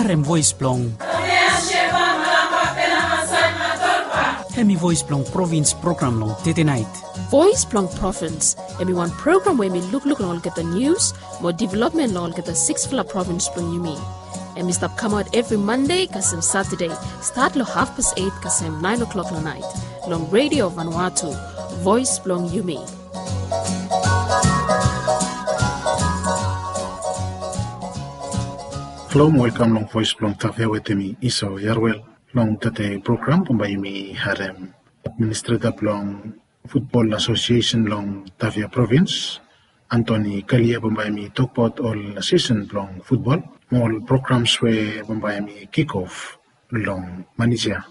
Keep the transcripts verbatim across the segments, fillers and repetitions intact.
Harem voes blong. Hemi voes blong provins program long tetenaet. Voes blong provins, hemi wan program we hemi lukluk long olgeta nius mo developmen long olgeta siksfala provins blong yumi. Hemi stap kamaot evri Mande kasem Satade, stat long hafpas et kasem naen o'klok long naet, long Redio Vanuatu, voes blong yumi. Halo mo welkam long voes blong Tavia wetem mi Iso Yarwel. Long tede program bambae yumi harem administreta blong futbol asosiesen long Tavia provins, Antoni Kalia, bambae yumi tokbaot ol sisen blong futbol mo ol programs we bambae yumi kikof long manis ya.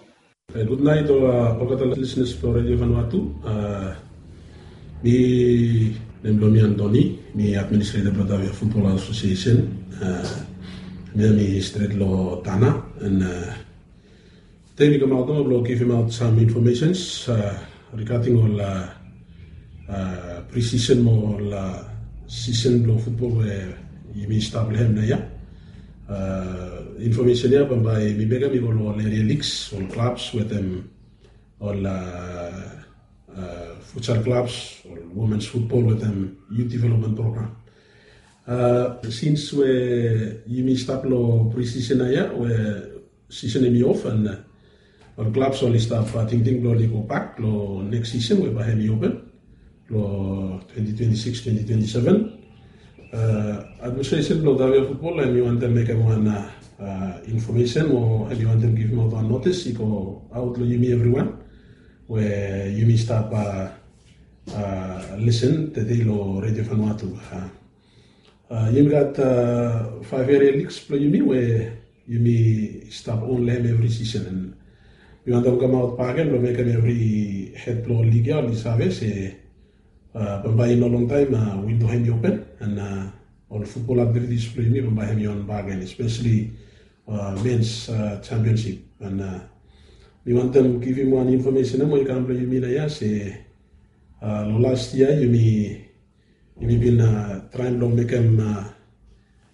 Gudnaet ol olgeta lisnas blong Redio Vanuatu. Mi, nem blong mi Antoni, mi administreta blong Tavia Futbol Asosiesen. Mi, mi stret long Tana, and tede mi kamaot nomo blong givimaot sam infomesens rigading ol prisisen mo ol sisen blong futbol we yumi stap long hem naoia. Infomesen ya bambae mi mekem i go long ol eria ligs, ol klabs wetem ol futsal klabs, ol womens futbol wetem yut developmen program. Sins we yumi stap long prisisen naoia we sisen hemi of, and ol klabs oli stap tingting blong oli gobak long neks sisen we bae hemi open long twenti twenti sikis, twenti twenti seven. Administresen blong Tavia Futbol hemi wantem mekem wan infomesen o hemi wantem givimaot wan notis i go aot long yumi evriwan we yumi stap lisen tede long Redio Vanuatu. Yumi gat faef eria ligs blong yumi we yumi stap on long hem evri sisen. Mi wantem kamaot bakegen blong mekem evri hed blong lig ya oli save se bambae i no longtaem windo hemi open, and ol futbol aktivitis blong yumi bambae hemi on bakegen, espeseli mens championsip. And mi wantem givim wan infomesen ya mo i kam blong yumi naoia se long las yia yumi yumi bin traem blong mekem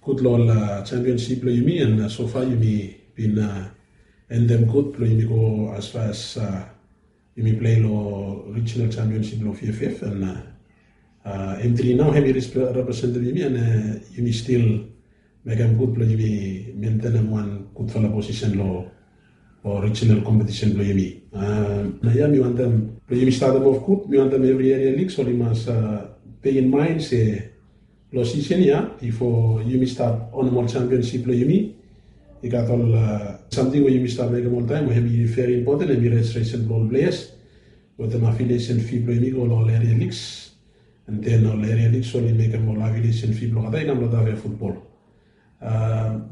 gud long ol championsip blong yumi, and sofa yumi bin endem gud blong yumi go as far as yumi plei long rijinal championsip blong V F F, and M three nao hemi representem yumi, and yumi stil mekem gud blong yumi mentenem wan gudfala posisen long rijinal kompetisen blong yumi. Naoia mi wantem blong yumi statem of gud, mi wantem evri eria ligs oli mas bei in maen se long sisen ya bifo yumi stap onem ol championsip blong yumi, i gat ol samting we yumi stap mekem oltaem we hemi veri impoten, hemi rejistresen blong ol pleas wetem afiliesen fi blong yumi go long ol eria ligs. And then ol eria ligs oli mekem ol afiliesen fi blong olgeta i kam long Tavia Futbol.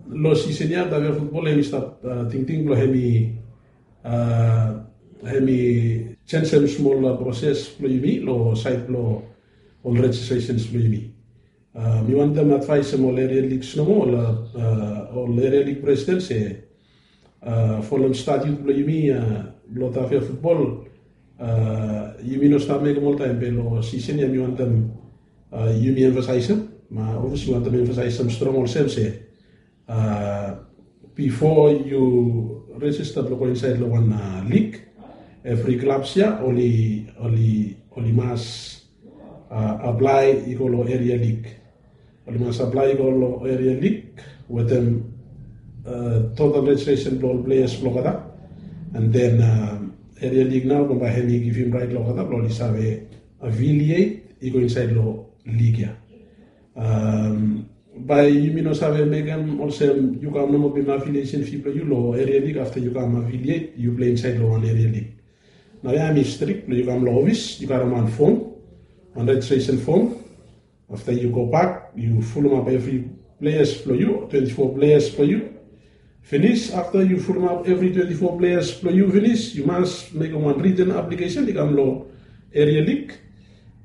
Long sisen ya Tavia Futbol hemi stap tingting blong hemi hemi jenisim smol proses blong yumi long saed blong ol rejistresens blong yumi. Mi wantem advaesem ol eria ligs nomo, ol eria lig presiden se folem statiut blong yumi blong Tavia Futbol, yumi no stap mekem oltaem be long sisen ya mi wantem yumi emfasaesem, ma obvias mi wantem emfasaesem strong olsem se bifo yu rejista blong go insaed long wan lig, evri klabs ya oli oli oli mas aplae i go long eria lig. Oli mas aplae i go long eria lig wetem total rejistresen blong ol pleas blong olgeta. And then eria lig nao bambae hemi givim raet long olgeta blong oli save afiliet i go insaed long lig ya. Bae yumi no save mekem olsem yu kam nomo givim afiliesen fi blong yu long eria lig afta yu kam afiliet yu plei insaed long wan eria lig. Naoia hemi strik blong yu kam long ofis yu karem wan fom, wan rejistresen fom. Afta yu gobak yu fulumap evri pleas blong yu, twenti fo pleas blong yu. Finis, afta yu fulumap evri twenti fo pleas blong yu finis, yu mas mekem wan riten aplikesen i kam long eria lig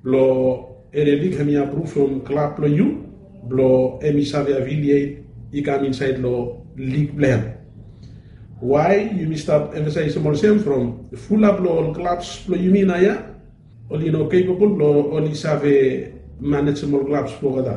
blong eria lig hemi apruvum klab blong yu blong hemi save afiliet i kam insaed long lig blong hem. Wae yumi stap emfasaesem olsem? From fulap long ol klabs blong yumi naoia oli no kepabol blong oli save manejem ol klabs blong olgeta.